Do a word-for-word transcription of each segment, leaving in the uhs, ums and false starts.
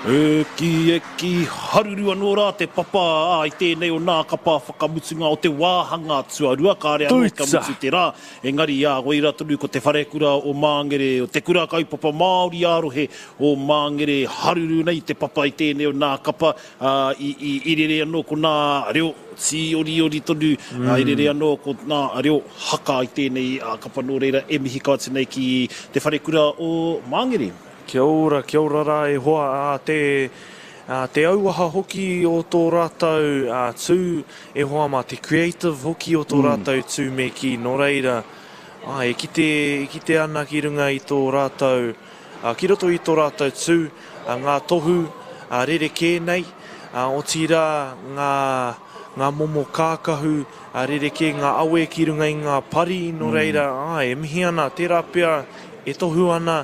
E ki, e ki, haruru anō rā te papa, ā, i tēnei o nā kapa whakamutunga o te wāhanga tuarua, kāre anō kia mutu te rā, engari, ā, koira tonu ko te wharekura o Māngere, o te kura kaupapa Māori ā-rohe o Māngere, haruru nei te papa i tēnei o nā kapa, ā, i, i, i rere anō ko nā reo tīoriori tonu, ā, i rere anō ko nā reo haka i tēnei kapa, nō reira e mihi kau atu nei ki te wharekura o Māngere. Kia ora, kia ora rā e hoa, ā, te, ā, te auaha hoki o tō rātou ā, tū, e hoa mā, te creative hoki o tō mm. rātou tū me kī, nō reira, ā, e kite, e kite ana ki runga i tō rātou, ā, ki roto i tō rātou tū, ā, ngā tohu ā, rerekē nei, ā, otirā ngā, ngā momo kākahu ā, rerekē, ngā awe ki runga i ngā pari, nō reira, ā, e mihi ana, tērā pea e tohu ana,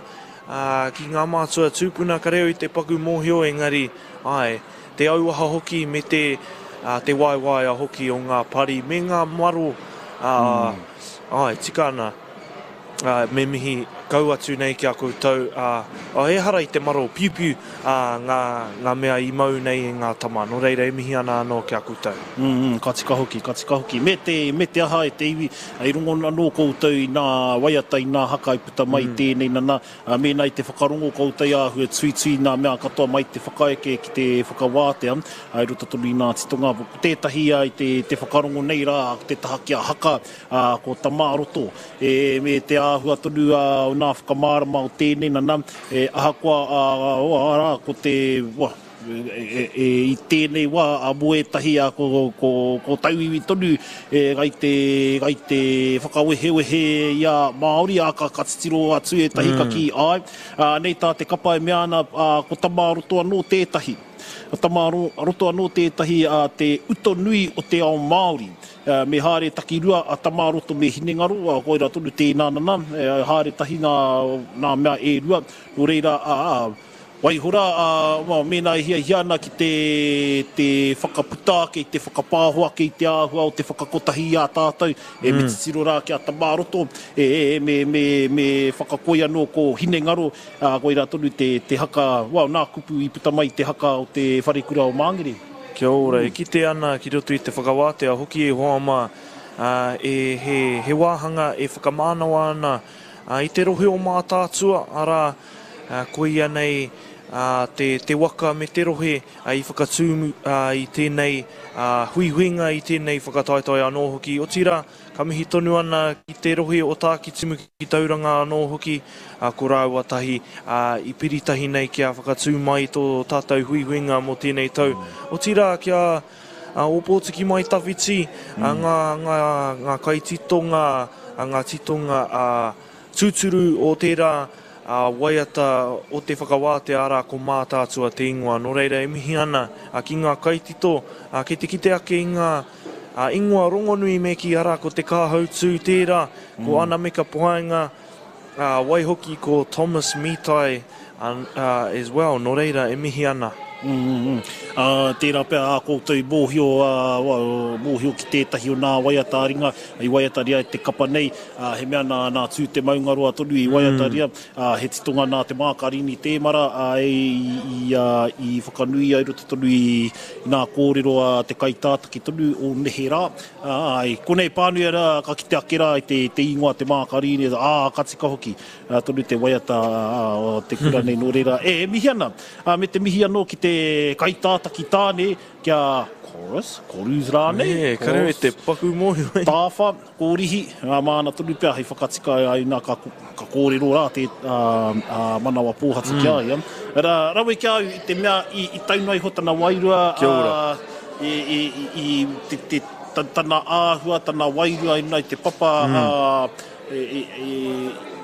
ā, ki ngā mātua tūpuna ka reo i te paku mōhio, engari, āe, te auaha hoki me te, ā, te waewaea hoki o ngā pari me ngā maro, ā, āe, tika ana, ā, me mihi kau atu nei ki a koutou, ā, ā, ehara i te maro piupiu, ā, ngā, ngā mea i mau nei e ngā tama, nō reira e mihi ana anō ki a koutou. Mm, mm, ka tika hoki, ka tika hoki. Me te, me te aha e te iwi, i rongo anō koutou i nā waiata, i nā haka i puta mai mm. tēnei nana, mēnā i te whakarongo koutou āhua tuitui nā mea katoa mai te whakaeke ki te whakawātea, i roto tonu i nā titonga. Ko tētahi i te, te whakarongo nei rā, ko te taha ki a haka, ko Tamāroto, e, me te āhua tonu o nā whakamārama o tēnei nana, e, ahakoa, a, a, arā, ko te, wa, e, e, i tēnei wā, a mō ētahi a ko, ko, ko tauiwi tonu e, gai te, gai te whakawehewehe i a Māori, a ka, ka titiro atu ētahi mm. ka kī ai. A, nei tā te kapa e mea ana, a, ko Tamāroto anō tētahi. Ko Tamāroto anō tētahi a te uto nui o te ao Māori. Me haere takirua a Tamāroto me Hinengaro, a, koira tonu tēnā nana, e, haere tahi nā, nā mea e rua, nō reira, a, a, waihora, a, well, mēnā e hiahia ana ki te, te whakaputa ake, te whakapāho ake i te āhua o te whakakotahi i a tātou, e mm. me titiro rā ki a Tamāroto, e, e, me, me, me whakakoi anō ko Hinengaro, a, koira tonu te, te haka, well, nā kupu i puta mai te haka o te wharekura o Māngere. Kia ora, e kite ana ki roto i te whakawātea hoki e hoa mā, ā, e, he, he wāhanga e whakamānawa ana ā, i te rohe o Mātaatua, arā, ā, koia nei ā, te, te waka me te rohe ā, i whakatū ā, i tēnei ā, huihuinga, i tēnei whakataetae anō hoki. Otirā, ka mihi tonu ana ki te rohe o Tākitimu ki Tauranga anō hoki, ā, ko rāua tahi ā, i piri tahi nei kia whakatū mai tō tātou huihuinga mō tēnei tau. Otirā, kia Ōpōtiki Mai Tawhiti, ā, ngā, ngā, ngā kaititonga, ā, ngā titonga ā, tūturu o tērā ā, waiata o te whakawātea, arā, ko Mātaatua te ingoa. Nō reira, e mihi ana ā, ki ngā kaitito, ā, kei te kite ake i ngā ā, ingoa rongonui me kī, arā, ko Te Kāhautū tērā, ko Ana Meka Paenga, ā, waihoki ko Thomas Mitai ā, ā, as well. Nō reira, e mihi ana. Mm, mm, mm. Ā, tērā pea ā koutou i mōhio, ā, mōhio ki tētahi o nā waiata ā-ringa i waiataria e te kapa nei, ā, he mea nā, nā Tū Te Maungaroa tonu i waiataria, ā, he titonga nā Te Mākarini Tēmara, ā, i, i, ā, i whakanuia i roto tonu i, i nā kōrero a te kaitātaki tonu o neherā. Ā, i konei pānui rā, ka kite ake rā i te, te ingoa Te Mākarini, ā, ka tika hoki ā, tonu te waiata ā, o te kura nei, nō reira, e, e mihi ana. Ā, me te mihi anō ki te kaitātaki tāne, ki a Chorus, Chorus rānei, Ē, ka rere te paku mōhio e. Tāwha, Kōrihi, ā, māna tonu pea hei whakatika ai nā ka, ka kōrero rā te ā, ā, manawa pōhatu ki a ia. Ra, rawe ki a au i te mea i, i tau noa iho tana wairua, Kia ora. ā, i, i, i, i te, te, tana āhua, tana wairua i runga i te papa, ā,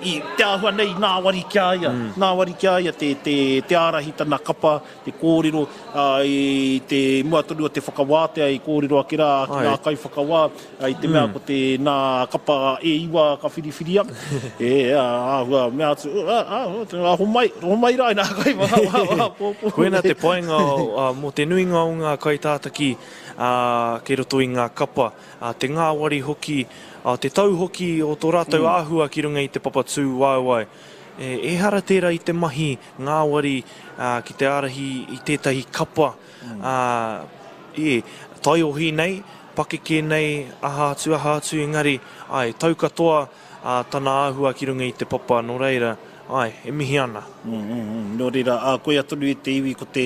i te āhua nei ngāwari ki a ia, ngāwari ki a ia te, te, te ārahi tana kapa, te kōrero, ā, i te mua tonu o te whakawātea i kōrero ake rā ki ngā kaiwhakawā, i te mea ko te nā kapa e iwa ka whiriwhiria, e, ā, āhua mea atu, ā, ā, ā, homai, homai rā i nā kaiwhakawā, pōpō. Koina te painga mō te nuinga o ngā kaitātaki, ā, kei roto i ngā kapa, ā, te ngāwari hoki, ā, te tau hoki o tō rātou āhua ki runga i te papa tūwaewae. E, ehara tērā i te mahi ngāwari uh, ki te ārahi i tētahi kapa mm. uh, e, taiohi nei, pakeke nei, aha atu, aha atu, engari, ai, tau katoa uh, tana āhua ki runga i te papa, nō reira, ai, e mihi ana. Mm, mm, mm. Nō reira, uh, koia tonu i te iwi ko te,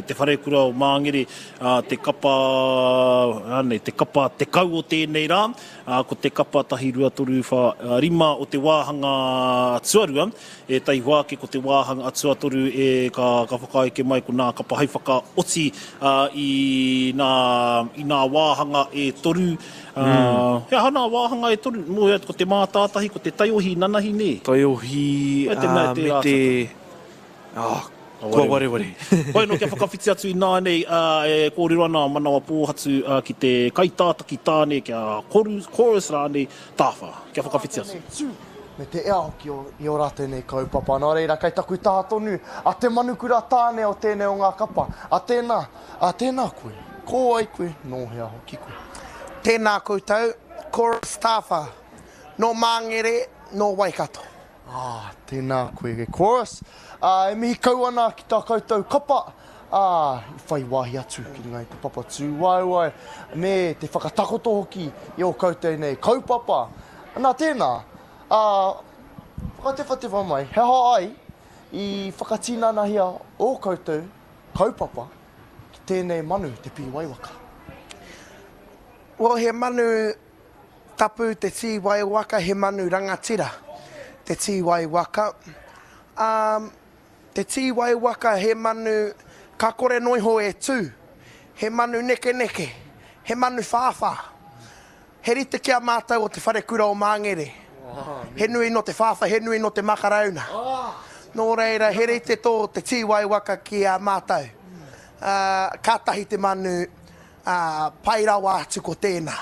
te wharekura o Māngere, uh, te kapa, anei, te kapa tekau o tēnei rā, uh, ko te kapa tahi rua toru wha, uh, rima o te wāhanga tuarua, e taihoa ake ko te wāhanga tuatoru e ka, ka whakaeke mai ko nā kapa hai whakaoti uh, i, nā, i nā wāhanga e toru. Uh, mm. He aha nā wāhanga e toru, mō ko te mātātahi, ko te taiohi nanahi nē. Taiohi uh, me te... Oh, kua wareware. Hoi no, kia whakawhiti atu i nānei, uh, e kōrero ana manawa pōhatu uh, ki te kaitātaki tāne, kia koru, chorus rānei, tāwha. Kia whakawhiti atu. Tū, me te ea hoki o, i o rātou nei kaupapa. Nā reira, kei taku taha tonu, a te manukura tāne o tēnei o ngā kapa. A tēnā, a tēnā koe, ko ai koe, nō hea hoki koe. Tēnā koutou, chorus tāwha, nō Māngere, nō Waikato. Ah, tēnā koe e chorus. Ah, e mihi kau ana ki tā koutou kapa. Ah, i whai wāhi atu ki runga i te papa tūwaewae, me te whakatakoto hoki i o koutou nei kaupapa. Nā tēnā, ah, whakatewhatewha mai, he aha ai i whakatinanahia o koutou kaupapa ki tēnei manu, te pīwaiwaka? Well, he manu tapu te tīwaiwaka, he manu rangatira te tīwaiwaka. Um, te tīwaiwaka he manu ka kore noiho e tū, he manu nekeneke, he manu whāwhā. He rite ki a mātou o te wharekura o Māngere. He nui no te whāwhā, he nui no te makarauna. Nō reira, he rite tō te tīwaiwaka ki a mātou. Uh, kātahi te manu uh, pai rawa atu ko tēnā,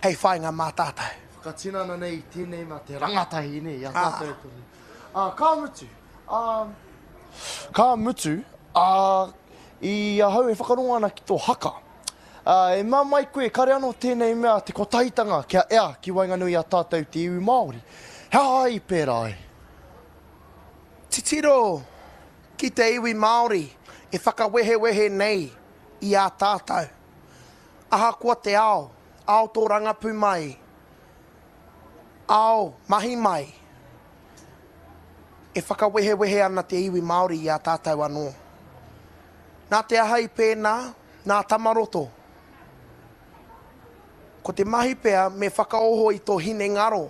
hei whainga mā tātou. Whakatinana nei tēnei mā te rangatahi nei, a tātou tonu. Ah, ka mutu, ah, ka mutu, ah, i ahau e whakarongo ana ki tō haka. Ah, e mā mai koe, kare anō tēnei mea te kotahitanga kia ea ki waenganui a tātou te iwi Māori. He aha i pērā ai? Titiro ki te iwi Māori e whakawehewehe nei i a tātou. Ahakoa te ao, ao tō rangapu mai, ao mahi mai, e whakawehewehe ana te iwi Māori i a tātou anō. Nā te aha i pēnā, nā Tamaroto. Ko te mahi pea me whakaoho i tō hinengaro,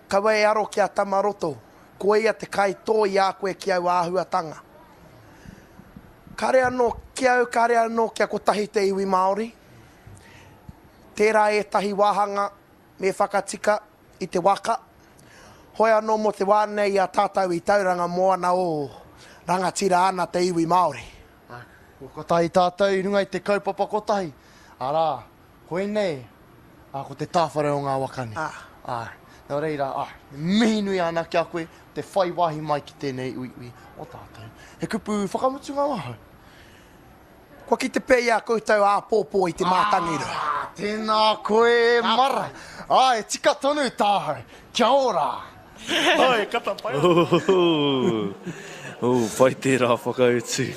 kaua e aro ki a Tamaroto, ko ia te kai tō i a koe ki au āhuatanga. Kare anō ki au, kare anō kia kotahi te iwi Māori. Tērā ētahi wāhanga me whakatika i te waka. Hoi anō mō te wā nei a tātou i Tauranga moana o rangatira ana te iwi Māori. Ko kotahi tātou i runga i te kaupapa kotahi. Arā, koinei, a, ko te tāwhare o ngā waka nei. Ah. Ah, nō reira, ah, mihi nui ana ki a koe, te whai wāhi mai ki tēnei uiui o tātou. He kupu whakamutunga wahau. Kua ki te pei a koutou āpōpō i te mātangirua. Ah, tēnā koe e mara. Ah, e tika tonu tāhau. Kia ora. Ai, kata pai. Oh, oh, pai tērā whakautu.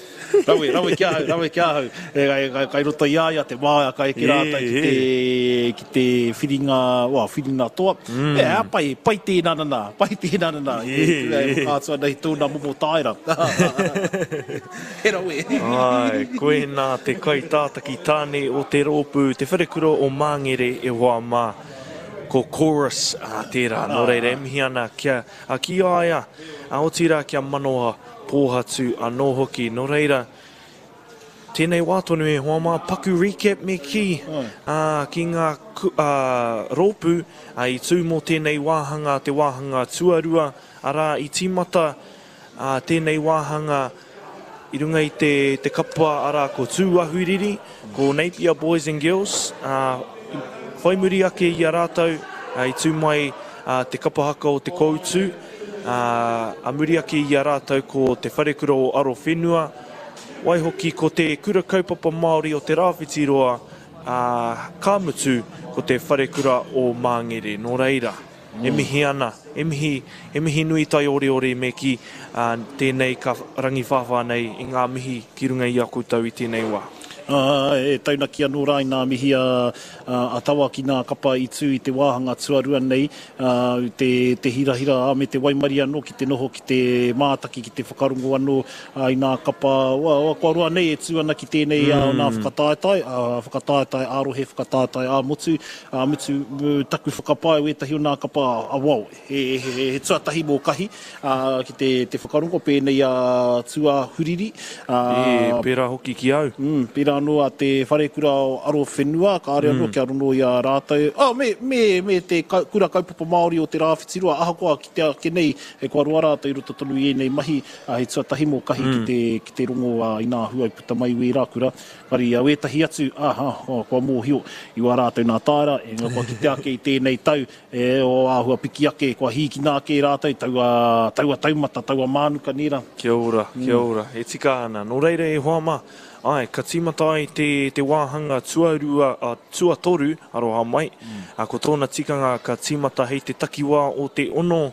Rawe, rawe ki ahau, rawe ki ahau. E, e, e, kai roto i a ia te māia kai ki rātou ki te, ki te whiringa, wa, whiringa toa. Mm. E, a, pai, pai tēnā nana, pai tēnā nana. E, e, e, whakaatu ana i tōna momo tāera. He rawe. Ai, koe nā te kaitātaki tāne o te rōpū, te wharekura o Māngere e hoa mā. Ko chorus a tērā, nō reira e mihi ana kia, a ki a ia, a otirā kia manawa pōhatu anō hoki. Nō reira, tēnei wā tonu e hoa mā, paku recap me ki, uh, ki ngā uh, rōpū uh, i tū mō tēnei wāhanga, te wāhanga tuarua, arā i tīmata uh, tēnei wāhanga i runga i te, te kapa arā ko Tūahuriri, ko Napier Boys and Girls, uh, whai muri ake i a rātou, uh, i tū mai uh, te kapa haka o te Koutu, uh, a muri ake i a rātou ko te Wharekura o Arowhenua, waihoki ko te Kura Kaupapa Māori o Te Rāwhitiroa, uh, ka mutu ko te Wharekura o Māngere. Nō reira, e mihi ana, e mihi, e mihi nui taioriori me ki uh, tēnei ka rangiwhāwhā nei i ngā mihi ki runga i a koutou i tēnei wā. Uh, e taunaki anō rā i nā mihi a, a, a tawa ki nā kapa i tū i te wāhanga tuarua nei, uh, te, te hirahira a me te waimari anō ki te noho ki te mātaki, ki te whakarongo anō uh, i nā kapa, wa, wa, kua roa nei e tū ana ki tēnei mm. uh, nā whakataetae, uh, whakataetae ā-rohe, whakataetae ā-motu, uh, mutu taku whakapae wētahi o nā kapa a wao, he, he, he, he tuatahi mō kahi uh, ki te, te whakarongo pēnei a Tūāhuriri. Uh, e, pērā hoki ki au. Mm, pērā anō a te wharekura o Arowhenua, kāre anō mm. kia rono i a rātou. Oh, me, me, me te kura kaupapa Māori o te Rāwhitiroa, ahakoa ki te ake nei, e kua roa rātou i roto tonu i ēnei mahi, a, he tuatahi mō kahi mm. ki, te, ki te rongo a, i nā hua i puta mai wērā kura. Kari a wētahi atu, aha, oh, kua mōhio i wā rātou nā tāra, e ngā kua ki te ake i tēnei tau, e o āhua piki ake, kua hīkina ake rātou, taua, taua taumata, taua mānuka nērā. Kia ora, kia mm. ora, e tika ana. Nō reira e hoa mā, ai, ka tīmata ai te, te wāhanga tuarua, uh, tuatoru, aroha mai, mm. uh, ko tōna tikanga ka tīmata hei te takiwā o te ono,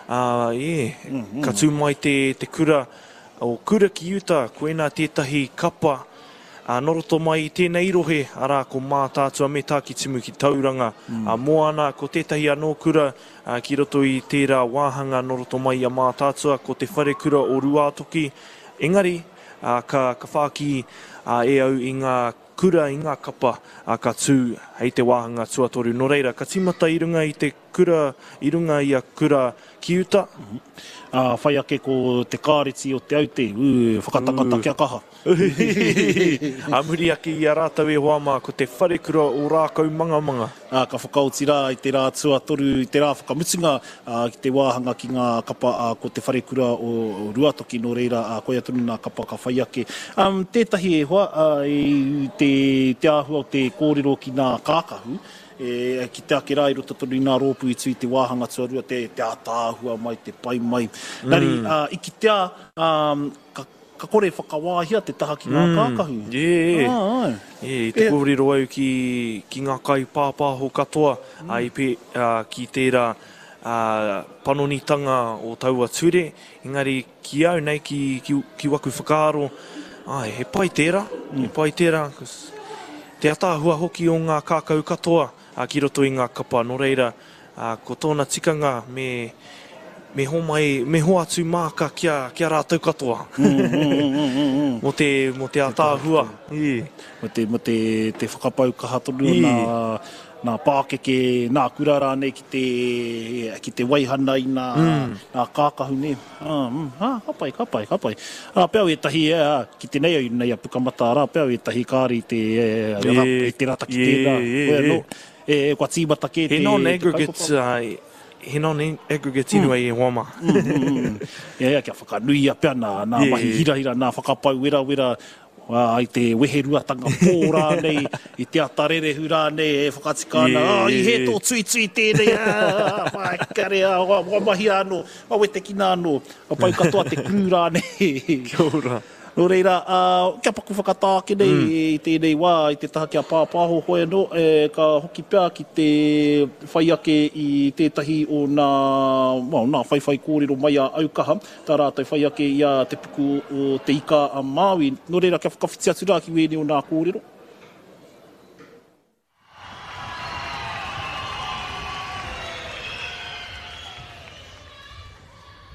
uh, e, mm -hmm. ka tū mai te, te kura, o Kura ki Uta, koena tētahi kapa, uh, nō roto mai i tēnei rohe, arā ko Mātaatua me Tākitimu ki Tauranga, mm. uh, moana, ko tētahi anō kura, uh, ki roto i tērā wāhanga nō roto mai i a Mātaatua, ko te wharekura o Ruātoki, engari, Uh, ka, ka whāki uh, e au i ngā kura, i ngā kapa uh, ka tū hei te wāhanga tuatoru. Nō reira, ka tīmata i runga i te kura, i runga i a Kura ki Uta. Mm -hmm. Uh, whai ake ko te kāreti o Te Aute, ū, whakatakata kia kaha. A muri ake i a rātou e hoa mā, ko te wharekura o Rākau Mangamanga. Uh, ka whakaoti rā i te rā tuatoru, i te rā whakamutunga uh, ki te wāhanga ki ngā kapa uh, ko te wharekura o, o Ruatoki, nō reira uh, koia tonu nā kapa ka whai ake. Um, tētahi e hoa, uh, i te, te āhua o te kōrero ki nā kākahu, e, ki te ake rā i roto tonu i nā rōpū i tū i te wāhanga tuarua, te, te ātaahua mai, te pai mai. Mm. Nari, uh, i kitea, um, ka, ka kore whakawāhia te taha ki ngā mm. kākahu. Yeah. Ah, ai. Yeah, i te kōrero au ki, ki ngā kai pāpāho katoa mm. a, i pe, uh, ki tērā uh, panonitanga o taua ture, engari ki au nei, ki, ki, ki waku whakaaro, ai, he pai tērā, mm. he pai tērā, te ataahua hoki o ngā kākau katoa uh, ki roto i ngā kapa. Nō reira, uh, ko tōna tikanga me, me homai, me hoatu māka kia, kia rātou katoa. Mm, mm, mm, mm, mm. Mō te, mō te ataahua. Mō te, mō te, te whakapau kaha tonu nā, nā pākeke, nā kura rānei ki te, ki te waihana i nā, mm. nā kākahu nei. Ah, mm, ah, ka pai, ka pai, ka pai. Rā pea ētahi, eh, ki te nei au nei a Pukamata, rā pea ētahi kāri te, eh, e, te rata ki tērā. E, e, e. E, kua tīmata kē te, he non-aggregate, uh, he non-aggregate mm. e hoa mā. mm, mm, mm. Ia, ia, kia whakanuia pea nā, nā yeah. mahi hirahira, nā whakapau werawera, uh, i te weheruatanga pō rānei, i te atarerehu rānei e whakatika ana, yeah, oh, i he tō tuitui tēnei, ah, whaikare, ah, wa, wa mahia anō, wa wetekina anō, wa pau katoa te crew rānei. Kia ora. Nō reira, uh, kia paku whakatā ake nei mm. i tēnei wā, i te taha kia pāpāho hoi anō, e, ka hoki pea ki te whai ake i tētahi o nā, well, nā whaiwhai kōrero mai a Aukaha, tā rātou whai ake i a te puku o te ika a Māui. Nō reira, kia whakawhiti atu rā ki wēnei o nā kōrero.